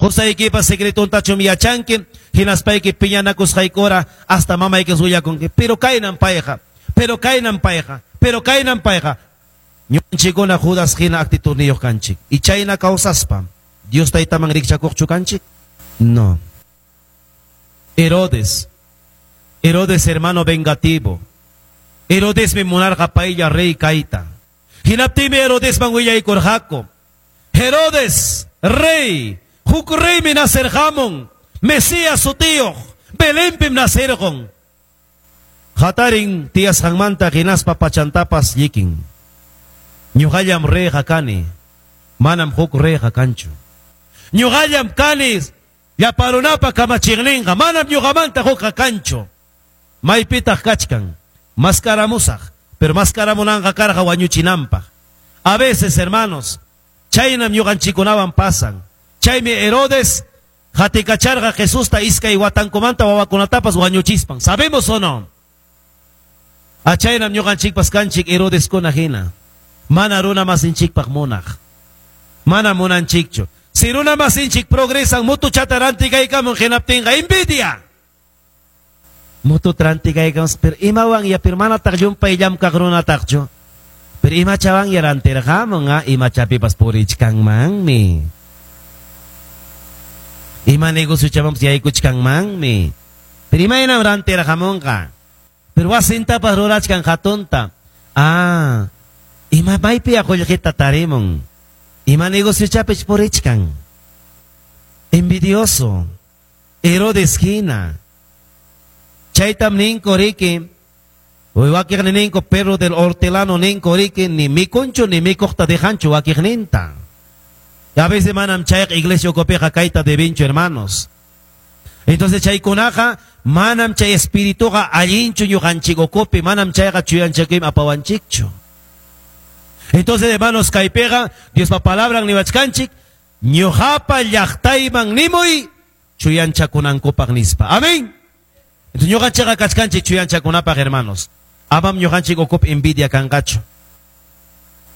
Qusaykipa secretontachum yachanki, hinaspayki piñanakusqaykura hasta mamayki willakunki. Pero kaynan payqa, pero kaynan payqa, pero kaynan payqa. Ñuqanchikkuna Judas hina actitudniyuq kanchik. Y chayna kawsaspa, Dios taytaman rikchakuqchu kanchik? No. Herodes. Herodes hermano vengativo. Herodesmi munarqa paylla rey kayta. Hinaptinmi Herodesman willaykurqaku. Herodes, rey, huk reymi nacerqamun, Mesías sutiyuq, Belenpim nacerqun. Hatarin tiyasqanmanta hinaspa pachantapas llikin. Ñuqallam reyqa kani, manam huk reyqa kanchu. Ñuqallam kani llapa runapa kamachiqninqa, manam ñuqamanta hukqa kanchu. Maypitaq kachkan, maskaramusaq, pero maskaramunanqa karqa wañuchinanpaq. A veces, hermanos, chaynam ñuqanchikkunawan pasan. Chaymi Herodes qatikacharqa Jesusta iskay watankumanta wawakunatapas wañuchispan. ¿Sabemos o no? A chaynam ñuqanchikpas kanchik Herodeskuna hina. Mana runa masinchikpaq munaq. Mana munanchikchu. Si runa masinchik progresan mutuchata rantikaykamun hinaptinqa envidia. Mutu rantikaykamun, pero imawan ya pero manataq llumpay llamkaq runataqchu. Pero imachawan ya rantirqamun, imachapipas purichkanmanmi. Ima negociochamanpas yaykuchkanmanmi. Pero imaynam rantirqamunqa. Pero wasintapas rurachkan hatunta. Ah, ima maypi qullqita tarimun. Ima negociochapich purichkan. Envidioso. Herodes hina. Chaytam ninko riki. Wakiqni ninko perro del hortelano ninko riki ni mikunchu ni mikuqta dejanchu wakiqninta. Y a veces manam chayqa iglesia ukupiqa kayta debinchu, hermanos. Entonces chaykunaqa manam chay espirituqa allinchu ñuqanchik ukupi, manam chayqa chuyanchakuymi apawanchikchu. Entonces, hermanos, kaypiqa Diospa palabran niwachkanchik, ñuqapa llaqtayman nimuy chuyanchakunankupaq nispa. Amén. Entonces ñuqanchikqa kachkanchik chuyanchakunapaq, hermanos. Amam ñuqanchik ukupi envidia kanqachu.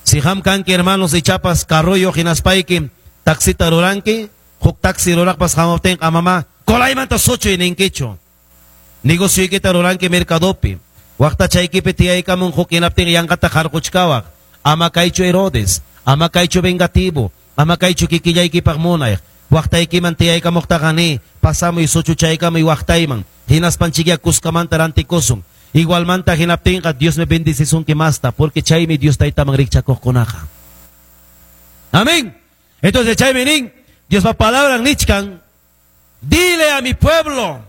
Si qam kanki, hermanos, ichapas carroyo hinaspayki taxita ruranki, huk taxi ruraqpas hamuptinqa amama kolaymanta suchuy ninkichu. Negocioykita ruranki mercadopi. Waqtachaykipi tiyaykamun huk hinaptin yanqata qarquchkawaq. Ama kaychu Herodes, ama kaychu vengativo, ama kaychu kikillaykipaq munay. Waqtaykiman tiyaykamuqtaqa ni, pasamuy suchuchaykamuy waqtayman. Hinaspanchikya kuskamanta rantikusun. Igualmanta hinaptinqa Dios me bendecisunki masta, porque chaymi Dios taytaman rikchakuqkunaqa. Amén. Entonces chaymi nin, Diospa palabra nichkan, dile a mi pueblo,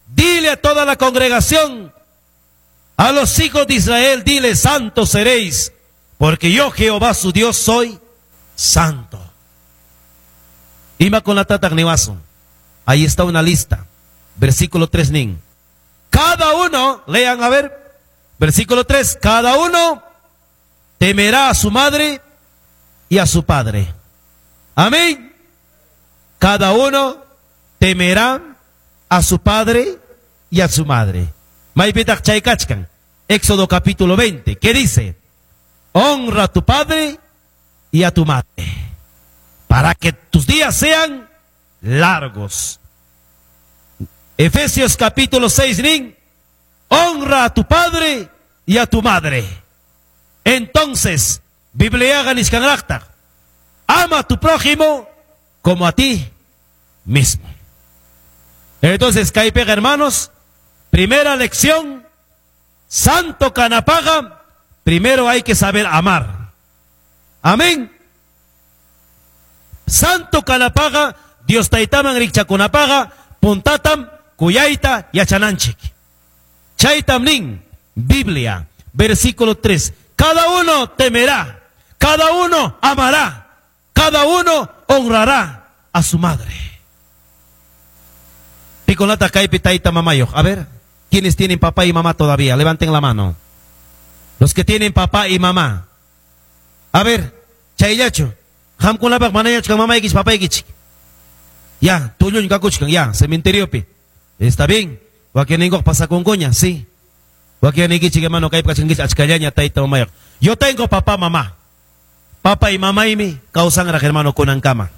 dile a toda la congregación, a los hijos de Israel, dile, santos seréis, porque yo Jehová su Dios soy santo. Imakunatataq niwasun. Ahí está una lista. Versículo 3 nin. Cada uno, lean a ver, versículo 3, cada uno temerá a su madre y a su padre. Amén. Cada uno temerá a su padre y a su madre. Maypitaq chay kachkan. Éxodo capítulo 20, ¿qué dice? Honra a tu padre y a tu madre, para que tus días sean largos. Efesios capítulo 6, nin, honra a tu padre y a tu madre. Entonces, Bibliaqa nichkanraqtaq, ama a tu prójimo como a ti mismo. Entonces, kaypiqa, hermanos, primera lección, santo kanapaqqa, primero hay que saber amar. Amén. Santo kanapaqqa, Dios taytaman rikchakunapaqqa, puntatam kuyayta yachananchik. Chaytam nin, Biblia, versículo 3. Cada uno temerá, cada uno amará, cada uno honrará a su madre. Pikunataq kaypi tayta mamayuq. A ver, ¿quiénes tienen papá y mamá todavía? Levanten la mano. Los que tienen papá y mamá. A ver, chayllachu. Qamkunapaq manañachkan mamaykichik, papaykichik. Ya, tulluñ kakuchkan, ya, cementeriopi. Está bien. Wakinninkuq pasakunkuña, sí. Wakinnikichik, hermano, kaypi kachkankichik achkallaña tayta mamayuq. Yo tengo papá, mamá. Papá y mamaymi kawsanraq, hermano, kunankama.